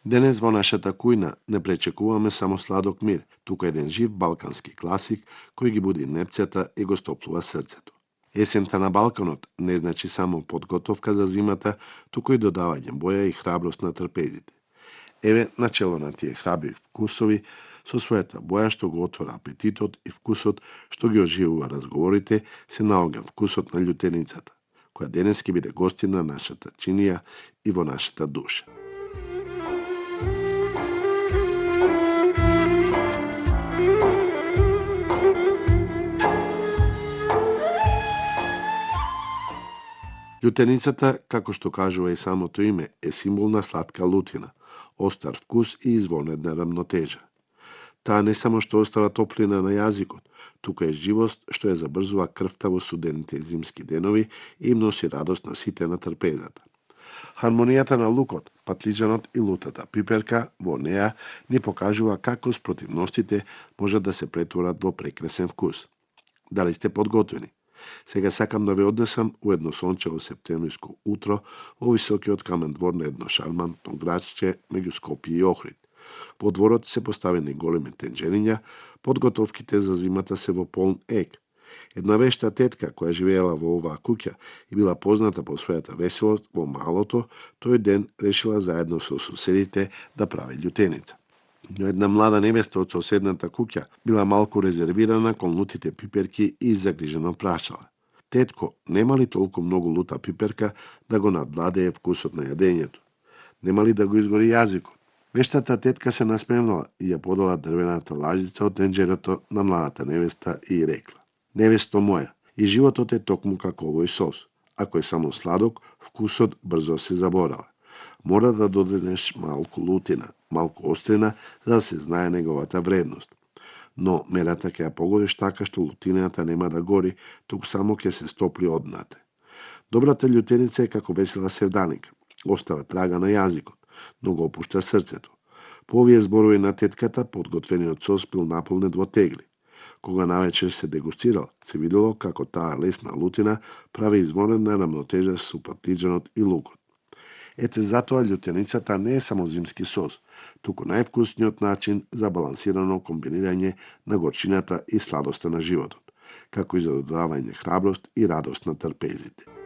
Денес во нашата кујна не пречекуваме само сладок мир, туку еден жив балкански класик кој ги буди непцата и го стоплува срцето. Есента на Балканот не значи само подготовка за зимата, туку и додавање боја и храброст на трпезите. Еве начело на тие храбри вкусови со својата боја што го отвора апетитот и вкусот што ги оживува разговорите, се наоѓа вкусот на љутеницата, која денес ќе биде гостина на нашата чинија и во нашата душа. Љутеницата, како што кажува и самото име, е символ на сладка лутина, остар вкус и извонедна рамнотежа. Таа не само што остава топлина на јазикот, туку е живост што ја забрзува крвта во студените зимски денови и им носи радост на сите на трпезата. Хармонијата на лукот, патлиџанот и лутата пиперка во неа ни покажува како спротивностите можат да се претворат во прекрасен вкус. Дали сте подготвени? Сега сакам да ве однесам у едно сончево септемвриско утро во високиот камен двор на едно шармантно градче меѓу Скопје и Охрид. Во дворот се поставени големи тенџериња, подготовките за зимата се во полн ек. Една вешта тетка која живеела во оваа куќа и била позната по својата веселост во малото, тој ден решила заедно со соседите да прави љутеница. Но една млада невеста од соседната куќа била малку резервирана кон лутите пиперки и загрижено прашала: "Тетко, нема ли толку многу лута пиперка да го надвладее вкусот на јадењето? Нема ли да го изгори јазикот?" Вештата тетка се насмевнала и ја подала дрвената лажица од тенџерото на младата невеста и рекла: "Невесто моја, и животот е токму како овој сос. Ако е само сладок, вкусот брзо се заборава. Мора да додадеш малку лутина, малку острина, за да се знае неговата вредност. Но мерата ќе ја погодиш така што лутината нема да гори, туку само ќе се стопли однате. Добрата љутеница е како весела севданика. Остава трага на јазикот, но го опушта срцето." По овие зборови на тетката, подготвениот сос бил наполнет во тегли. Кога навечер се дегустирал, се видело како таа лесна лутина прави извонедна рамнотежа со патлиџанот и лукот. Ете затоа љутеницата не е само зимски сос, туку највкусниот начин за балансирано комбинирање на горчината и сладоста на животот, како и за додавање храброст и радост на трпезите.